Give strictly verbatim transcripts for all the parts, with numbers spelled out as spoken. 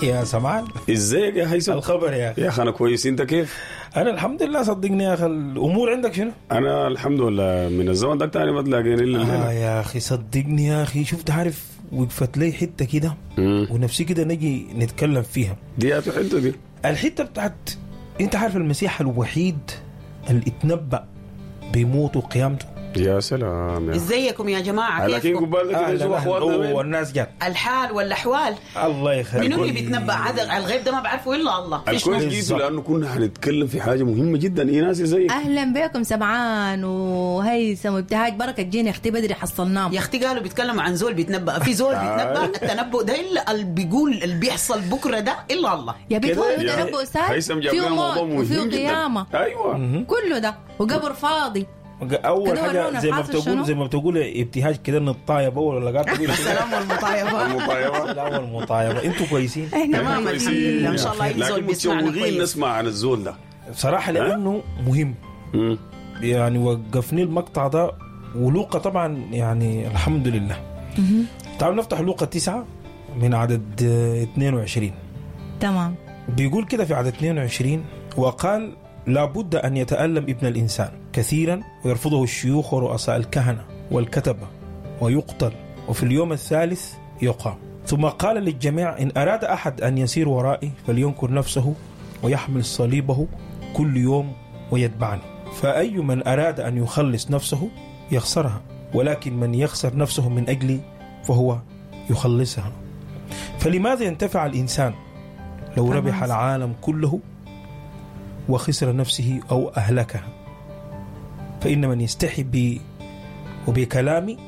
يا سمعان، ازيك يا هيثم؟ الخبر يا اخي؟ يا اخي انا كويس، انت كيف؟ انا الحمد لله. صدقني يا اخي، الامور عندك شنو؟ انا الحمد لله، من الزمن ده تاني ما تلاقيني الا آه الليلة. يا اخي صدقني يا اخي، شفت عارف وقفت لي حتة كده مم. ونفسي كده نجي نتكلم فيها. دي يا حتة دي الحتة بتاعت انت عارف المسيح الوحيد اللي اتنبأ بموته وقيامته. يا سلام يا ازيكم يا جماعة، لكن كيفكم؟ قبال ده كده أهلاً شوف أهلاً. اخواتنا أوه، وين؟ والناس جت. الحال والاحوال. الله يخليك. منو اللي بيتنبأ هذا على الغيب ده؟ ما بعرفه الا الله. في شنو؟ الكويس جيتوا بالظبط. لانه كنا هنتكلم في حاجة مهمة جدا. ايناس ازيك؟ اهلا بكم سمعان وهيثم وابتهاج، بركة جينا اختي بدري حصلناهم. يا اختي قالوا بيتكلموا عن زول بيتنبأ، في زول بيتنبأ؟ التنبؤ ده الا اللي بيقول اللي بيحصل بكره ده الا الله. يا بنت هو يا تنبؤ ساي، هيثم جاب فيه لنا موضوع موت وفيه مهم جدا. قيامه، ايوه كله ده وقبر فاضي. اول كده حاجة ورونا زي ما حاصل بتقول شنو؟ زي ما بتقول ابتهاج كده نطايب اول ولا قاعد تقول السلام والمطايبه. المطايبه. لا والمطايبه. انتوا كويسين؟ احنا تمام الحمد لله، ان شاء الله اي زول لكن بيسمعنا متشوقين كويس. نسمع عن الزول ده بصراحة لانه مهم. مم. يعني وقفني المقطع ده ولوقا طبعا، يعني الحمد لله. تعالوا نفتح لوقا تسعة من عدد آه، اثنين وعشرين. تمام. بيقول كده في عدد اثنين وعشرين: وقال لابد أن يتألم ابن الإنسان كثيرا ويرفضه الشيوخ ورؤساء الكهنة والكتبة ويقتل، وفي اليوم الثالث يقام. ثم قال للجميع: إن أراد أحد أن يسير ورائي فلينكر نفسه ويحمل صليبه كل يوم ويتبعني. فأي من أراد أن يخلص نفسه يخسرها، ولكن من يخسر نفسه من أجلي فهو يخلصها. فلماذا ينتفع الإنسان لو ربح العالم كله وخسر نفسه أو أهلكها؟ فإن من يستحي بي وبكلامي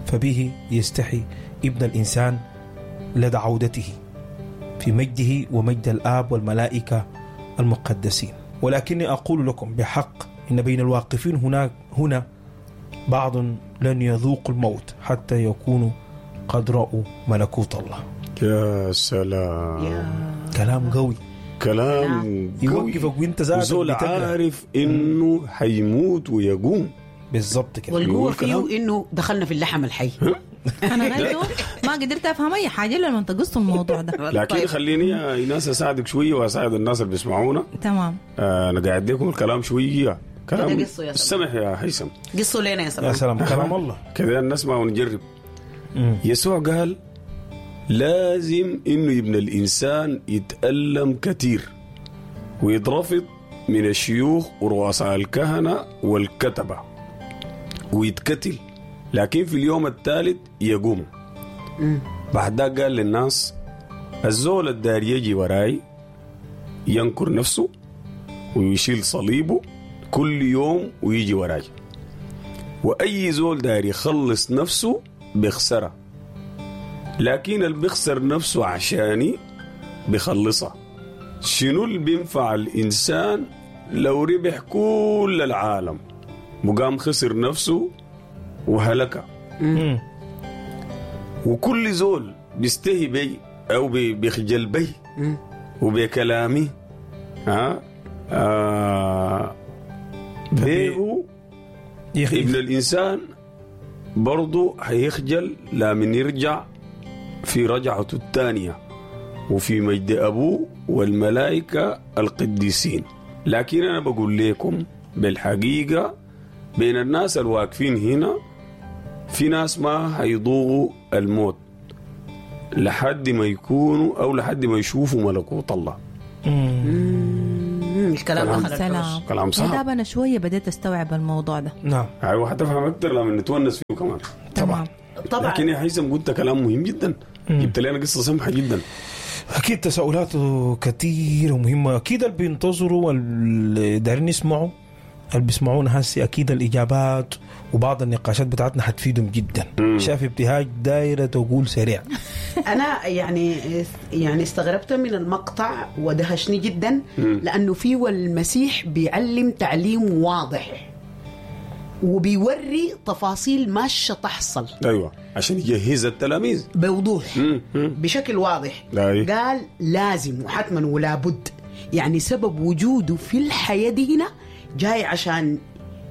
فبه يستحي ابن الإنسان لدى عودته في مجده ومجد الآب والملائكة المقدسين. ولكني أقول لكم بحق إن بين الواقفين هناك هنا بعض لن يذوقوا الموت حتى يكونوا قد رأوا ملكوت الله. يا سلام. يا كلام قوي. كلام قوي. يوقفك وانت ذاتك وزول بتقرا. عارف انه حيموت ويقوم. بالضبط كده. والقوه يقول كلام. فيه انه دخلنا في اللحم الحي. انا غايته ما قدرت افهم اي حاجة الا لما تقصوا الموضوع ده. لكن طيب. خليني يا ايناس اساعدك شوية واساعد الناس اللي بيسمعونا. تمام. آه، انا قاعد لكم الكلام شويه، كلام كده قصة يا سلام. سمح يا هيثم. قصوا لنا يا يا سلام. سلام، كلام الله. كده نسمع ونجرب. مم. يسوع قال لازم انه ابن الانسان يتألم كثير ويترفض من الشيوخ ورؤساء الكهنة والكتبة ويتقتل، لكن في اليوم الثالث يقوم. بعد ذاك قال للناس: الزول الدار يجي وراي ينكر نفسه ويشيل صليبه كل يوم ويجي وراي، واي زول داير يخلص نفسه بيخسرها، لكن اللي بيخسر نفسه عشاني بيخلصها. شنو اللي بينفع الانسان لو ربح كل العالم وقام خسر نفسه وهلك؟ مم. وكل زول بيستهي بي او بي- بيخجل بي وبكلامي ها آه بيه يخ- ابن الإنسان برضو هيخجل لمن يرجع في رجعته الثانية وفي مجد أبوه والملائكة القديسين. لكن أنا بقول لكم بالحقيقة بين الناس الواقفين هنا في ناس ما هيضوقوا الموت لحد ما يكونوا أو لحد ما يشوفوا ملكوت الله. مم، الكلام دخل الحوش. سلام. كلام يا صعب. داب انا شوية بديت استوعب الموضوع ده. نعم. ايوه، هتفهم اكثر لما نتونس فيه كمان. تمام. طبعا. لكن يا هيثم قلت كلام مهم جدا، جبت لنا قصة سمحه جدا. اكيد تساؤلاته كثيرة ومهمه، اكيد اللي بينتظروا واللي دايرين يسمعوا، اللي بيسمعونا هسي، اكيد الاجابات وبعض النقاشات بتاعتنا حتفيدهم جدا. شاف ابتهاج دايرة تقول سريع. انا يعني يعني استغربت من المقطع ودهشني جدا، لانه فيه المسيح بيعلم تعليم واضح وبيوري تفاصيل ماشية تحصل. ايوه، عشان يجهز التلاميذ. بوضوح. مم. مم. بشكل واضح. أي. قال لازم وحتما ولا بد، يعني سبب وجوده في الحياة دي هنا جاي عشان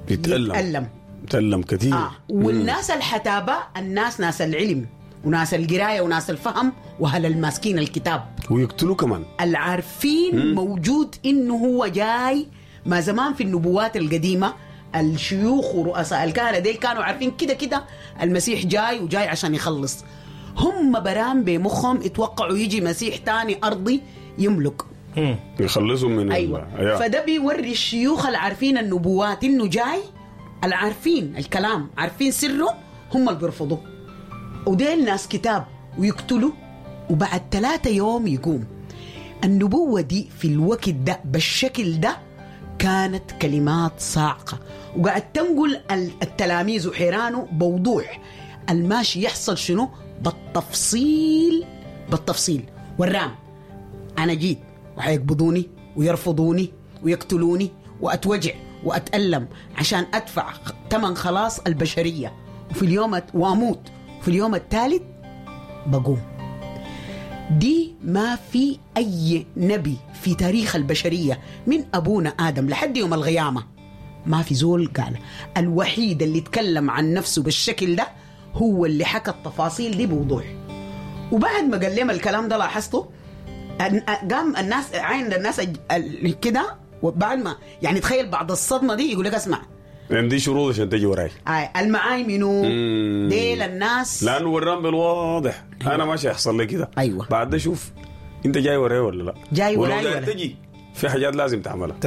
يتألم. يتألم. يتألم كثير. آه. والناس الحتابة، الناس ناس العلم وناس القراية وناس الفهم وهل الماسكين الكتاب ويقتلوه كمان. العارفين مم. موجود إنه هو جاي. ما زمان في النبوات القديمة الشيوخ ورؤساء الكهنة ديل كانوا عارفين كده كده المسيح جاي وجاي عشان يخلص. هم برام بمخهم اتوقعوا يجي مسيح تاني أرضي يملك يخلصهم من أيوة. ال... فده بيوري الشيوخ العارفين النبوات إنه جاي، العارفين الكلام، عارفين سره، هم اللي بيرفضوه. وديل ناس كتاب ويقتلوا وبعد ثلاثة يوم يقوم. النبوة دي في الوقت ده بالشكل ده كانت كلمات صاعقة، وقاعد تنقل التلاميذ وحيرانه بوضوح الماشي يحصل شنو بالتفصيل بالتفصيل. والرام أنا جيت وحيقبضوني ويرفضوني ويقتلوني وأتوجع وأتألم عشان أدفع ثمن خلاص البشرية، وفي اليوم وأموت، وفي اليوم الثالث بقوم. دي ما في أي نبي في تاريخ البشرية من أبونا آدم لحد يوم القيامة ما في زول قال. الوحيد اللي تكلم عن نفسه بالشكل ده هو اللي حكى التفاصيل دي بوضوح. وبعد ما قال لهم الكلام ده لاحظته قام الناس عين الناس كده، وبعد ما يعني تخيل بعد الصدمة دي يقول لك اسمع عندي شروط عشان تجي وراي. آه المعاي منو ديل الناس، لانه وران بالواضح. أيوة. انا ماشي يحصل لي كده. ايوه بعد ده شوف انت جاي وراي ولا لا جاي وراي ولا تجي في حاجات لازم تعملها.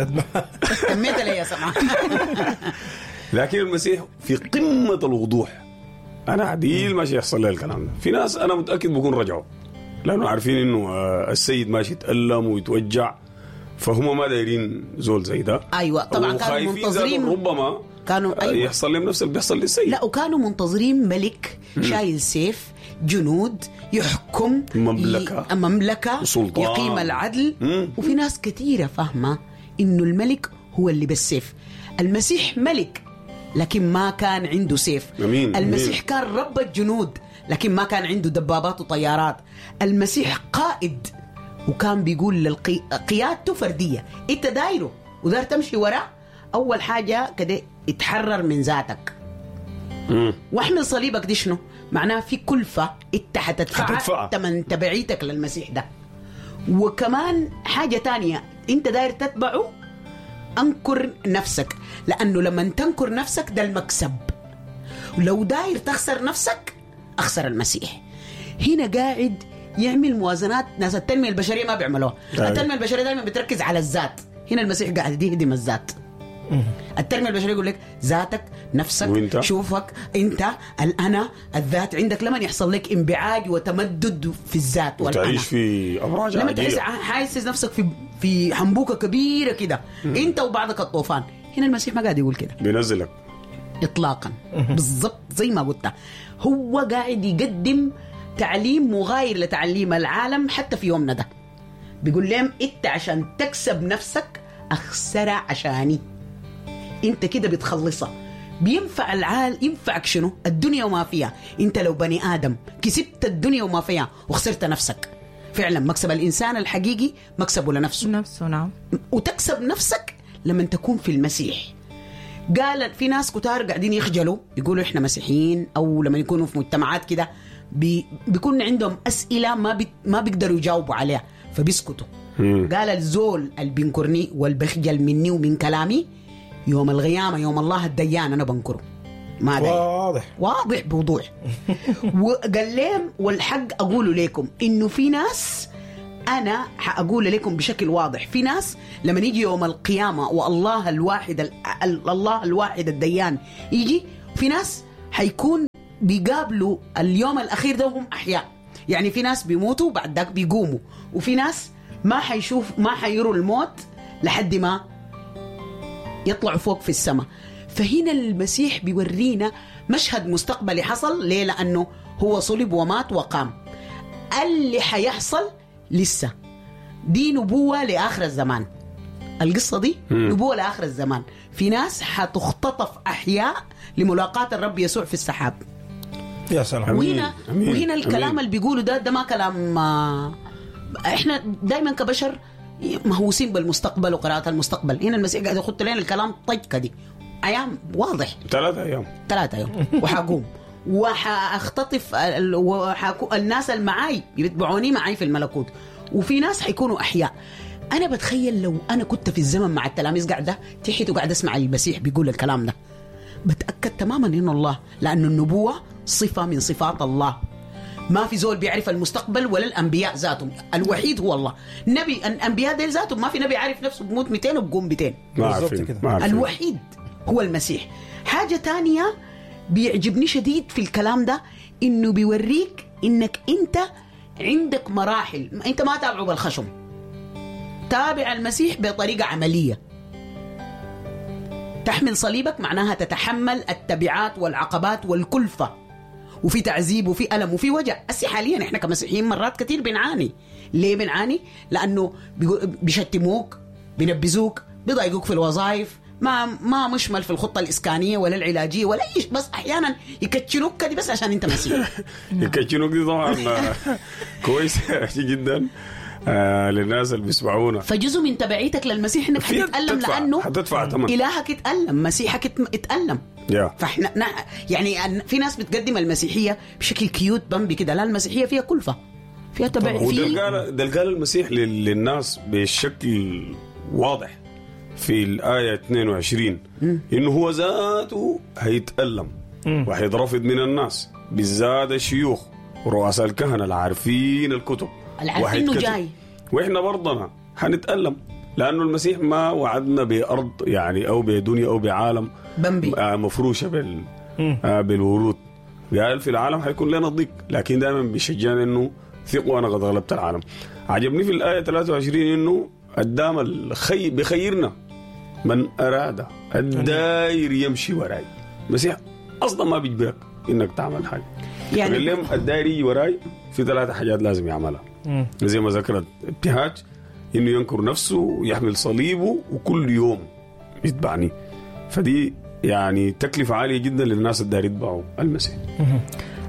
تميت لي يا سماح. لكن المسيح في قمة الوضوح، انا عديل ماشي يحصل لي الكلام ده. في ناس انا متاكد بكون رجعوا لانه عارفين انه السيد ماشي يتالم ويتوجع، فهم ما دايرين زول زي ده. ايوه طبعا كانوا منتظرين ربما كانوا أيوة. يحصل لهم نفس اللي بيحصل للسيد. لا وكانوا منتظرين ملك شايل سيف، جنود، يحكم مملكة ي... مملكة سلطان، يقيم العدل. مم. وفي ناس كثيرة فاهمه انه الملك هو اللي بالسيف. المسيح ملك لكن ما كان عنده سيف. أمين. المسيح أمين. كان رب الجنود لكن ما كان عنده دبابات وطيارات. المسيح قائد وكان بيقول للقي... قيادته فردية، انت دايرة ودار تمشي وراه. اول حاجة كده اتحرر من ذاتك واحمل صليبك. دي شنو معناها؟ في كلفة انت حتدفعها تمن تبعيتك للمسيح ده. وكمان حاجة تانية انت داير تتبعه، انكر نفسك، لانه لما تنكر نفسك ده المكسب. لو داير تخسر نفسك اخسر المسيح. هنا قاعد يعمل موازنات ناس التنمية البشرية ما بيعملوها. التنمية البشرية دائما بتركز على الذات، هنا المسيح قاعد يهدم الذات. التنمية البشرية يقول لك ذاتك، نفسك، وإنت؟ شوفك انت، الانا، الذات عندك. لما يحصل لك انبعاج وتمدد في الذات والأنا، وتعيش في ابراج لما تحس حاسس نفسك في في حنبوكه كبيرة كده انت وبعضك الطوفان. هنا المسيح ما قاعد يقول كده، بينزلك اطلاقا. بالضبط زي ما قلت، هو قاعد يقدم تعليم مغاير لتعليم العالم حتى في يومنا ده. بيقول لهم انت عشان تكسب نفسك اخسرها عشاني، انت كده بتخلصها. بينفع العال ينفعك شنو؟ الدنيا وما فيها. انت لو بني ادم كسبت الدنيا وما فيها وخسرت نفسك، فعلا مكسب الانسان الحقيقي مكسبه لنفسه نفسه. نعم. وتكسب نفسك لما تكون في المسيح. قال في ناس كتار قاعدين يخجلوا يقولوا احنا مسيحيين، او لما يكونوا في مجتمعات كده بي بيكون عندهم اسئلة ما بي ما بيقدروا يجاوبوا عليها فبيسكتوا. قال الزول اللي بينكرني والبخجل مني ومن كلامي يوم القيامة يوم الله الديان انا بنكره. ما داير. واضح واضح بوضوح. وقال لهم والحق اقوله لكم انه في ناس، انا حاقول لكم بشكل واضح، في ناس لما يجي يوم القيامة والله الواحد ال... الله الواحد الديان يجي، في ناس حيكون بيقابلوا اليوم الاخير ده وهم احياء. يعني في ناس بيموتوا بعد ذاك بيقوموا، وفي ناس ما حيشوف ما حيروا الموت لحد ما يطلعوا فوق في السماء. فهنا المسيح بيورينا مشهد مستقبلي حصل. ليه؟ لأنه هو صلب ومات وقام. اللي حيحصل لسه دي نبوة لآخر الزمان. القصة دي نبوة لآخر الزمان. في ناس حتختطف أحياء لملاقاة الرب يسوع في السحاب. يا سلام. وهنا, وهنا الكلام أمين. اللي بيقوله ده ده ما كلام. احنا دايما كبشر مهووسين بالمستقبل وقراءة المستقبل. هنا المسيح قاعد يخط لنا الكلام طجكة دي أيام واضح، ثلاثة أيام ثلاثة أيام وحقوم. وحاختطف ال- وحاكو الناس اللي معاي بيتبعوني معاي في الملكوت، وفي ناس حيكونوا احياء. انا بتخيل لو انا كنت في الزمن مع التلاميذ قاعدة تحت وقاعدة اسمع المسيح بيقول الكلام ده، بتاكد تماما انه الله، لانه النبوة صفة من صفات الله. ما في زول بيعرف المستقبل ولا الانبياء ذاتهم، الوحيد هو الله. نبي الانبياء ديل ذاتهم ما في نبي عارف نفسه بموت مئتين وبقوم مئتين. ما بالظبط عارفين كده. ما عارفين. الوحيد هو المسيح. حاجة تانية بيعجبني شديد في الكلام ده، إنه بيوريك إنك أنت عندك مراحل، أنت ما تابعه بالخشم، تابع المسيح بطريقة عملية. تحمل صليبك معناها تتحمل التبعات والعقبات والكلفة، وفي تعذيب وفي ألم وفي وجع. هسي حاليا احنا كمسيحيين مرات كتير بنعاني. ليه بنعاني؟ لأنه بيقو- بيشتموك، بينبذوك، بيضايقوك في الوظائف، ما ما مشمل في الخطة الإسكانية ولا العلاجية ولا أي شيء، بس أحيانا يكتشنوك كده بس عشان أنت مسيحي. الكاتشينوك دي طبعا كويسة جدا آه، للناس اللي بيسمعونا. فجزء من تبعيتك للمسيح إنك في حتتألم، حتدفع- لأنه حتدفع ثمن. إلهك اتألم، مسيحك ات- اتألم. يا. فاحنا نا- يعني أن- في ناس بتقدم المسيحية بشكل cute بامبي كده، لا المسيحية فيها كلفه، فيها تبع، وده في اللي قال ده اللي قال المسيح لل- للناس بشكل واضح في الآية اثنين وعشرين، إنه هو ذاته هيتألم وهيترفض من الناس، بالذات الشيوخ ورؤساء الكهنة العارفين الكتب، العارفين إنه وهيتكتب. جاي. وإحنا برضنا هنتألم، لأنه المسيح ما وعدنا بأرض يعني أو بدنيا أو بعالم بمبي. آه، مفروشة بال آه، بالورود. قال في العالم حيكون لنا ضيق، لكن دائما بيشجعنا انه ثقوا انا قد غلبت العالم. عجبني في الايه ثلاثة وعشرين انه قدام الخي بخيرنا من اراد الداير يمشي وراي. المسيح اصلا ما بيجبرك انك تعمل حاجة. يعني- قال لهم الداير يجي وراي في ثلاثة حاجات لازم يعملها. زي ما ذكرت ابتهاج، انه ينكر نفسه ويحمل صليبه وكل يوم يتبعني. فدي يعني تكلفة عالية جدا للناس الداير يتبعوا المسيح.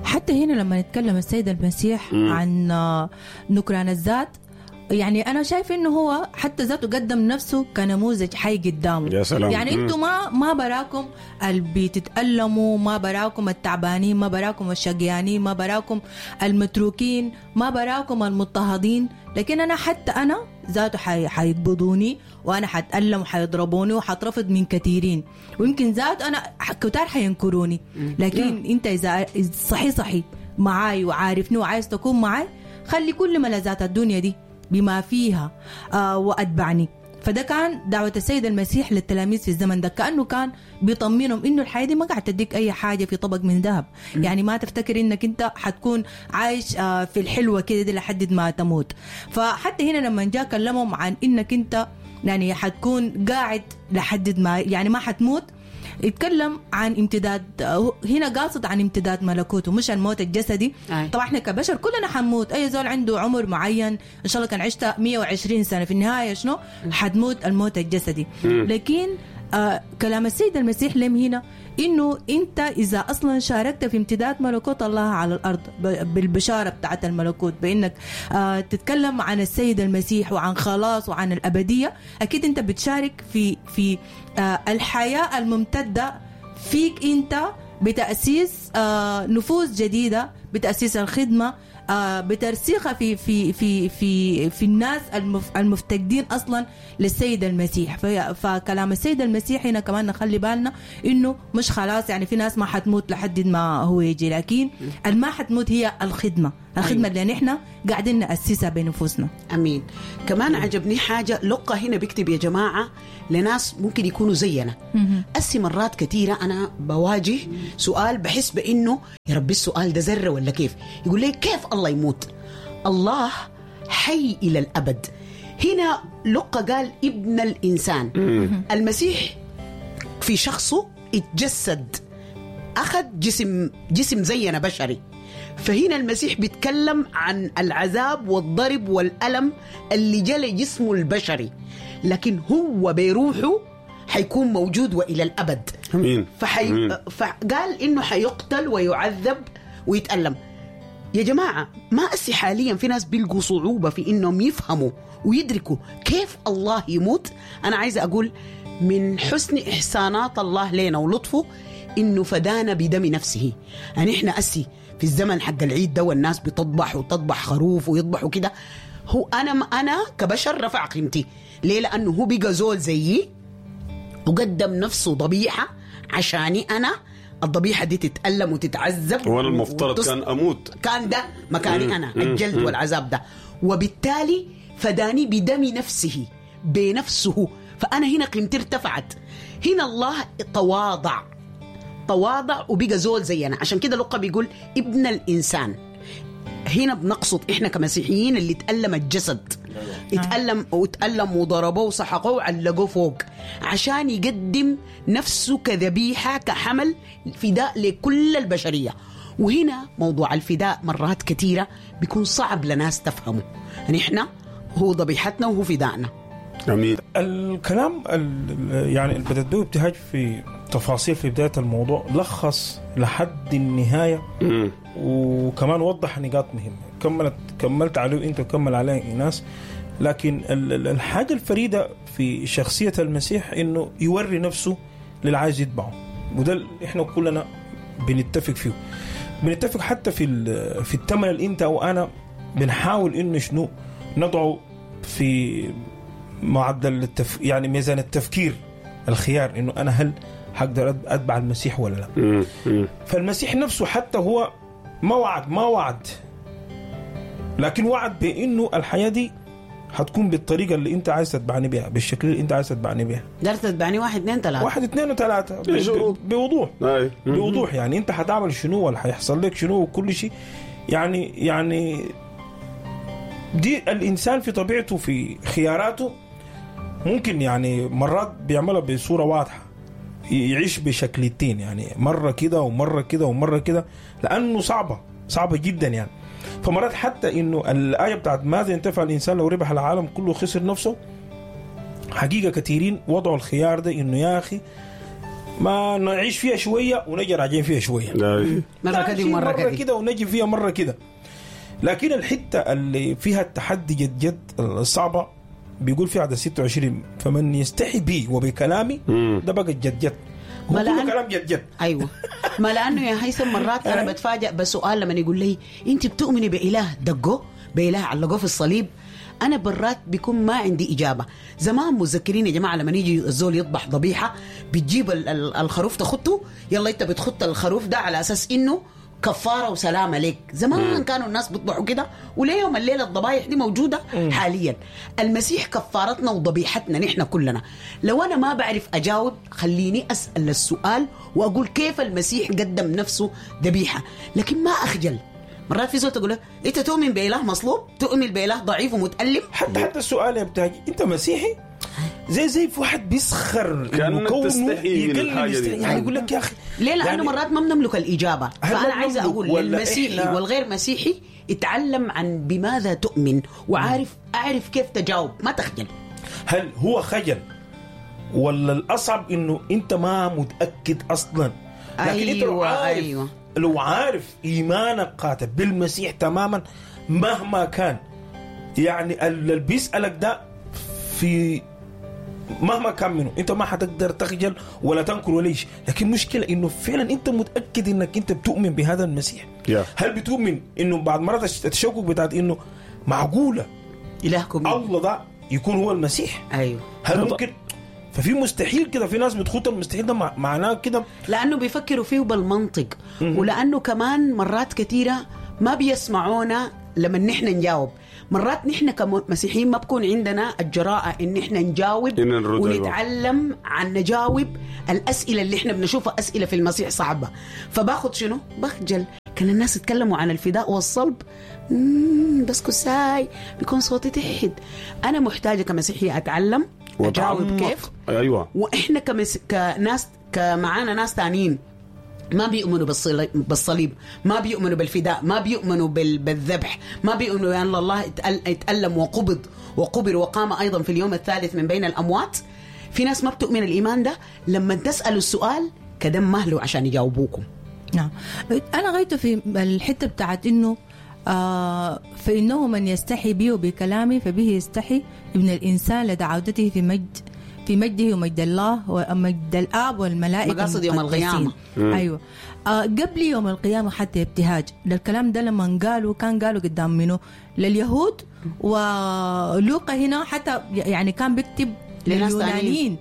حتى هنا لما نتكلم السيد المسيح مم. عن آه، نكران الذات، يعني انا شايف انه هو حتى ذاته قدم نفسه كنموذج حي قدامه. يا سلام. يعني مم. انتوا ما ما براكم اللي بتتألموا، ما براكم التعبانين، ما براكم الشقيانين، ما براكم المتروكين، ما براكم المضطهدين، لكن انا حتى انا ذاته حي- حيقبضوني وانا حتألم وحيضربوني وحترفض من كثيرين، ويمكن ذات انا ح- كتار حينكروني، لكن انت اذا إذا صحي صحي معاي وعارفني وعايز تكون معاي، خلي كل ملذات الدنيا دي بما فيها آه واتبعني. فده كان دعوة السيد المسيح للتلاميذ في الزمن ده، كأنه كان بيطمنهم إنه الحياة دي ما قاعد تديك أي حاجة في طبق من ذهب. يعني ما تفتكر إنك أنت حتكون عايش آه، في الحلوة كده دي لحد ما تموت. فحتى هنا لما جاء كلمهم عن إنك أنت يعني حتكون قاعد لحد ما يعني ما حتموت، يتكلم عن امتداد، هنا قاصد عن امتداد ملكوته مش الموت الجسدي. أي. طبعا احنا كبشر كلنا حنموت، اي زول عنده عمر معين ان شاء الله كان عشت مية وعشرين سنة، في النهاية شنو حتموت الموت الجسدي. لكن آه كلام السيد المسيح لم هنا انه انت اذا اصلا شاركت في امتداد ملكوت الله على الارض ب- بالبشاره بتاعت الملكوت، بانك آه تتكلم عن السيد المسيح وعن خلاص وعن الابدية، اكيد انت بتشارك في في آه الحياة الممتدة فيك انت بتاسيس آه نفوس جديدة، بتاسيس الخدمة، آه بترسيخها في في في في في الناس المف المفتقدين اصلا للسيد المسيح. في فكلام السيد المسيح هنا كمان نخلي بالنا انه مش خلاص يعني في ناس ما حتموت لحد ما هو يجي، لكن الما حتموت هي الخدمة، الخدمة اللي نحن قاعدين ناسسها بنفوسنا. امين. كمان عجبني حاجة لقى هنا بيكتب يا جماعة لناس ممكن يكونوا زينا. أسي مرات كثيرة انا بواجه سؤال بحس بانه يا ربي السؤال ده ذره ولا كيف؟ يقول لي كيف الله يموت؟ الله حي الى الابد. هنا لقى قال ابن الانسان. المسيح في شخصه اتجسد، اخذ جسم جسم زينا بشري. فهنا المسيح بيتكلم عن العذاب والضرب والألم اللي جلى جسمه البشري، لكن هو بروحه حيكون موجود وإلى الأبد. امين. فحي... أمين. فقال إنه حيقتل ويعذب ويتألم. يا جماعة ما أسي حاليا في ناس بيلقوا صعوبة في إنهم يفهموا ويدركوا كيف الله يموت. أنا عايزة أقول من حسن إحسانات الله لنا ولطفه انه فدانا بدم نفسه. يعني احنا اسي في الزمن حق العيد ده والناس بتطبح وتطبح خروف ويطبحوا كده، هو انا انا كبشر رفع قيمتي. ليه؟ لانه هو بقى زول زيي وقدم نفسه ضبيحه عشاني انا، الضبيحه دي تتألم وتتعذب، وانا المفترض وتص... كان اموت، كان ده مكاني انا، الجلد والعذاب ده، وبالتالي فداني بدم نفسه بنفسه. فانا هنا قيمتي ارتفعت. هنا الله تواضع تواضع وبقى زول زينا. عشان كده لقى بيقول ابن الانسان. هنا بنقصد احنا كمسيحيين اللي تألم الجسد، اتألم وتألم وضربوه وسحقوه وعلقوه فوق عشان يقدم نفسه كذبيحة، كحمل فداء لكل البشرية. وهنا موضوع الفداء مرات كثيرة بيكون صعب لناس تفهمه. يعني احنا هو ذبيحتنا وهو فدائنا. امين. الكلام يعني اللي بدأت به ابتهاج في تفاصيل في بداية الموضوع لخص لحد النهاية، مم. وكمان وضح نقاط مهمة كملت كملت عليه انت وكمل عليه ايناس. لكن الحاجة الفريدة في شخصية المسيح انه يوري نفسه للعايز يتبعه، وده اللي احنا كلنا بنتفق فيه. بنتفق حتى في في الثمن اللي انت وانا بنحاول انه شنو نضعه في معدل التف... يعني ميزان التفكير، الخيار انه انا هل هقدر اتبع المسيح ولا لا. مم. مم. فالمسيح نفسه حتى هو ما وعد ما وعد لكن وعد بانه الحياة دي هتكون بالطريقة اللي انت عايز تتبعني بها، بالشكل اللي انت عايز تتبعني بها. دارت تتبعني واحد اثنين ثلاثة، واحد اثنين وثلاثة ب... بوضوح. أي. بوضوح يعني انت هتعمل شنو ولا هيحصل لك شنو وكل شيء. يعني يعني دي الانسان في طبيعته في خياراته ممكن يعني مرات بيعملها بصورة واضحة، يعيش بشكلتين، يعني مرة كده ومرة كده ومرة كده، لانه صعبة صعبة جدا يعني. فمرات حتى انه الايه بتاعت ماذا ينتفع الانسان لو ربح العالم كله خسر نفسه، حقيقة كثيرين وضعوا الخيار ده انه يا اخي ما نعيش فيها شوية ونجي راجعين فيها شوية، مرة كده ومرة كده كده ونجي فيها مرة كده. لكن الحتة اللي فيها التحدي جد جد الصعبة بيقول في عدد ستة وعشرين فمن يستحي بي وبكلامي، ده بقى جد جد، هو كله كلام جد جد. ايوه ما لانه يا هيثم مرات انا بتفاجئ بسؤال لما يقول لي انت بتؤمني باله دقوه، باله علقوه في الصليب، انا برات بيكون ما عندي اجابه. زمان متذكرين يا جماعة لما يجي الزول يذبح ذبيحة بتجيب الخروف تخطه، يلا انت بتخط الخروف ده على اساس انه كفارة وسلامه لك. زمان كانوا الناس بيطبحوا كده، وليوم الليلة الضبايح دي موجودة مم. حاليا. المسيح كفارتنا وضبيحتنا نحن كلنا. لو انا ما بعرف اجاوب خليني اسال السؤال واقول كيف المسيح قدم نفسه ذبيحة، لكن ما اخجل. مرات في زول تقول له انت تؤمن باله مصلوب، تؤمن باله ضعيف ومتالم. حتى حتى السؤال يا بتاعي انت مسيحي، زي زي في واحد بيسخر كأنك تستحي من الحاجة دي، يعني يقول لك يا اخي ليه؟ لانه يعني مرات ما بنملك الاجابة. فانا عايزه اقول للمسيحي والغير مسيحي اتعلم عن بماذا تؤمن وعارف اعرف كيف تجاوب، ما تخجل. هل هو خجل ولا الاصعب انه انت ما متاكد اصلا؟ لكن أيوة انت لو عارف، أيوة لو عارف ايمانك قاطع بالمسيح تماما مهما كان، يعني اللي بيسالك ده في مهما كان منه انت ما حتقدر تخجل ولا تنكر ولا شيء. لكن مشكلة انه فعلا انت متاكد انك انت بتؤمن بهذا المسيح. yeah. هل بتؤمن انه بعد مرات التشكك بتاعت انه معقولة الهكم الله ده يكون هو المسيح؟ ايوه. هل ممكن؟ ففي مستحيل كده، في ناس بتخوت المستحيل ده معناه كده لانه بيفكروا فيه بالمنطق، ولانه كمان مرات كثيرة ما بيسمعونا لما نحن نجاوب. مرات نحن كمسيحيين ما بكون عندنا الجراءة إن إحنا نجاوب إن ونتعلم عن نجاوب الأسئلة اللي إحنا بنشوفها أسئلة في المسيح صعبة. فباخد شنو؟ بخجل. كان الناس يتكلموا عن الفداء والصلب بس كساي بيكون صوتي تحت. أنا محتاجة كمسيحية أتعلم أجاوب كيف. أيوة. وإحنا كمس... كناس كمعانا ناس تانيين ما بيؤمنوا بالصليب، ما بيؤمنوا بالفداء، ما بيؤمنوا بالذبح، ما بيؤمنوا أن الله اتألم وقبض وقبر وقام أيضا في اليوم الثالث من بين الأموات. في ناس ما بتؤمن الإيمان ده، لما تسألوا السؤال كدم مهله عشان يجاوبوكم. نعم. أنا غايته في الحتة بتاعت إنه آه فإنه من يستحي بي وبكلامي فبه يستحي ابن الإنسان لدى عودته في مجد في مجده ومجد الله ومجد الآب والملائكة مقاصد يوم المقدسين. القيامة. أيوة آه قبل يوم القيامة حتى ابتهاج ده الكلام ده لما قالوا كان قالوا قدام منه لليهود، ولوقا هنا حتى يعني كان بيكتب لناس لليونانيين،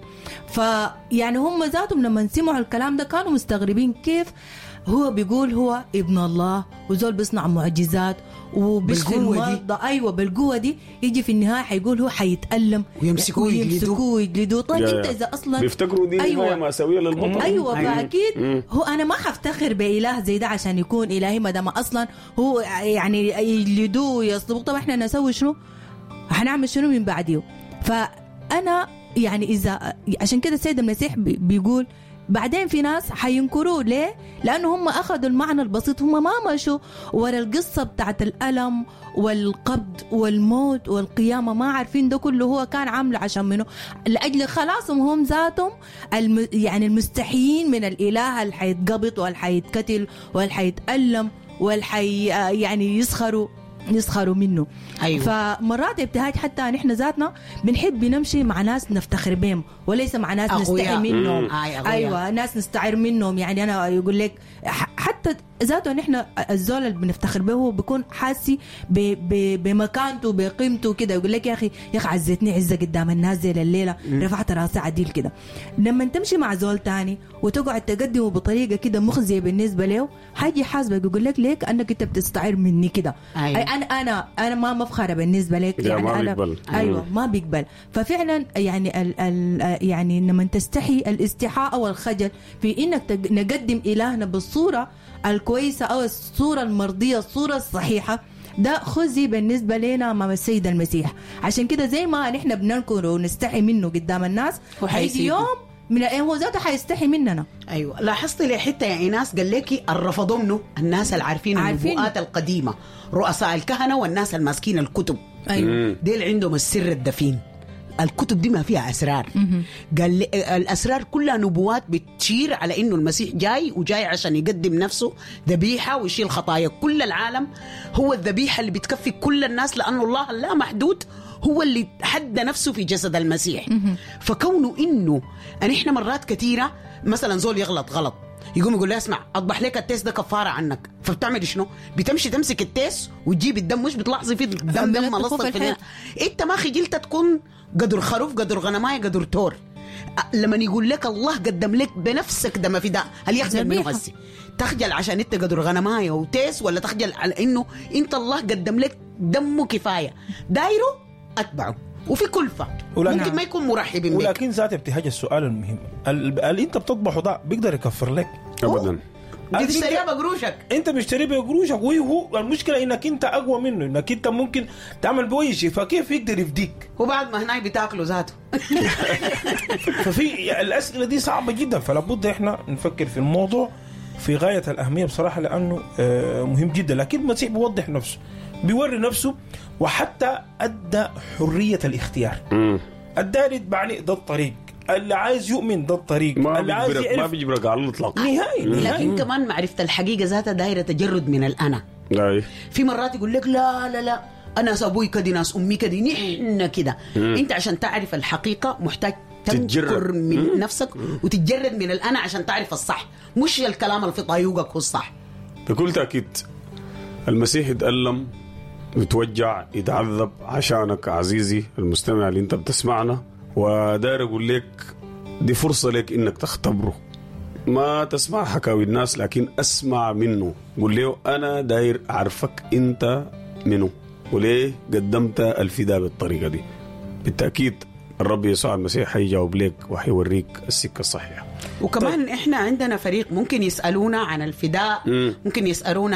فيعني هم ذاتهم لما سمعوا الكلام ده كانوا مستغربين كيف هو بيقول هو ابن الله وزول بيصنع معجزات وبيشفي بالقوة دي. المرضى. ايوه بالقوة دي يجي في النهاية حيقول هو حيتألم ويمسكوه ويجلدوه. ويمسكوه ويجلدوه. طيب يا انت يا. اذا اصلا بيفتكروا دي أيوة. نهاية مأساوية للبطل. ايوه أيوة. فاكيد هو انا ما حفتخر باله زي ده عشان يكون الهي ما دام اصلا هو يعني يجلدوه ويصلبوه. طب احنا نسوي شنو؟ حنعمل شنو من بعديه؟ فانا يعني اذا عشان كده السيد المسيح بي- بيقول بعدين في ناس حينكروه. ليه؟ لأنه هم أخذوا المعنى البسيط، هم ما مشوا ورا القصة بتاعت الألم والقبض والموت والقيامة، ما عارفين ده كله هو كان عامله عشان منه، لأجل خلاصهم هم ذاتهم الم يعني المستحيين من الإله اللي حيتقبض واللي حيتقتل واللي حيتألم واللي حي يعني يسخروا يسخروا منه. أيوة. فمرات ابتهاج حتى نحن ذاتنا بنحب نمشي مع ناس نفتخر بهم وليس مع ناس أقوياء. نستحي منهم. مم. آي، أقوياء. ايوه ناس نستعير منهم. يعني انا يقول لك حتى ذاته نحن الزول اللي بنفتخر به هو بيكون حاسي ب- ب- بمكانته بقيمته كده، يقول لك يا اخي يا اخي عزتني عزه قدام الناس زي الليلة، رفعت راسي عديل كده. لما تمشي مع زول تاني وتقعد تقدمه بطريقة كده مخزيه بالنسبة له، حيجي يحاسبك يقول لك ليه كانك انت بتستعير مني كده. أيوة. انا انا انا ما مفخرة بالنسبة لك لا، يعني ما انا بيقبل. ايوه ما بيقبل. ففعلا يعني ال ال يعني لما تستحي الاستحاء او الخجل في انك تق- نقدم الهنا بالصورة الكويسة او الصورة المرضية، الصورة الصحيحة، ده خزي بالنسبة لنا امام السيد المسيح. عشان كده زي ما نحن بننكر ونستحي منه قدام الناس، هو هيجي حيسيبه. يوم من هو ذاته حيستحي مننا. ايوه لاحظت لي حتة يا ايناس قال لك الرفضوا منه الناس اللي عارفين عارفين. النبوءات القديمة، رؤساء الكهنة والناس الماسكين الكتب. ايوه ديل عندهم السر الدفين، الكتب دي ما فيها اسرار. قال لي الاسرار كلها نبوات بتشير على انه المسيح جاي، وجاي عشان يقدم نفسه ذبيحة ويشيل خطايا كل العالم. هو الذبيحة اللي بتكفي كل الناس، لانه الله لا محدود هو اللي حد نفسه في جسد المسيح. فكونه انه ان احنا مرات كثيرة مثلا زول يغلط غلط يقوم يقول له اسمع اطبح لك التيس ده كفارة عنك، فبتعمل شنو؟ بتمشي تمسك التيس وتجيب الدم، مش بتلاحظي في الدم دم بتلطخوه ملصق في في الحيط. انت ما خجلت تكون قدر خروف قدر غنمايه قدر تور. لما يقول لك الله قدم لك بنفسك دم فداء، هل يخجل منه ذبيحة. هسي؟ تخجل عشان انت قدر غنمايه وتيس، ولا تخجل على انه انت الله قدم لك دمه كفاية دايرة اتبعه وفي كلفه ولكن- ممكن ما يكون مرحب بك. ولكن ذات ابتهاج السؤال المهم، ال- اللي انت بتطبخه ده بيقدر يكفر لك؟ ابدا. بتشتريها بقروشك. انت مشتريه بقروشك، وهو المشكلة انك انت اقوى منه، انك انت ممكن تعمل بأي شيء، فكيف يقدر يفديك؟ وبعد ما هناك بتاكله ذاته. ففي الاسئلة دي صعبة جدا، فلا بد احنا نفكر في الموضوع في غاية الاهمية بصراحة، لانه آه، مهم جدا. لكن المسيح بيوضح نفسه، بيوري نفسه، وحتى ادى حرية الاختيار. مم. الدار يتبعني ده الطريق، اللي عايز يؤمن ده الطريق، ما اللي عايز بيجبرك ما يعرف بيجبرك على الاطلاق. نهائي نهائي. لكن كمان معرفة الحقيقة ذاتها دايرة تجرد من الأنا. أي. في مرات يقول لك لا لا لا أنا ناس أبوي كده، ناس أمي كده، نحن كده. أنت عشان تعرف الحقيقة محتاج تنكر تتجرد. من نفسك وتتجرد من الأنا عشان تعرف الصح، مش الكلام اللي في طايوقك هو الصح. بكل تأكيد المسيح يتألم يتوجع يتعذب عشانك عزيزي المستمع اللي انت بتسمعنا، وداير اقول لك دي فرصة لك انك تختبره. ما تسمع حكاوي الناس لكن اسمع منه، قول له انا داير اعرفك انت منه وليه قدمت الفداء بالطريقة دي. بالتأكيد الرب يسوع المسيح حيجاوب لك وحيوريك السكة الصحيحة. وكمان طيب. احنا عندنا فريق ممكن يسألونا عن الفداء، مم. ممكن يسألونا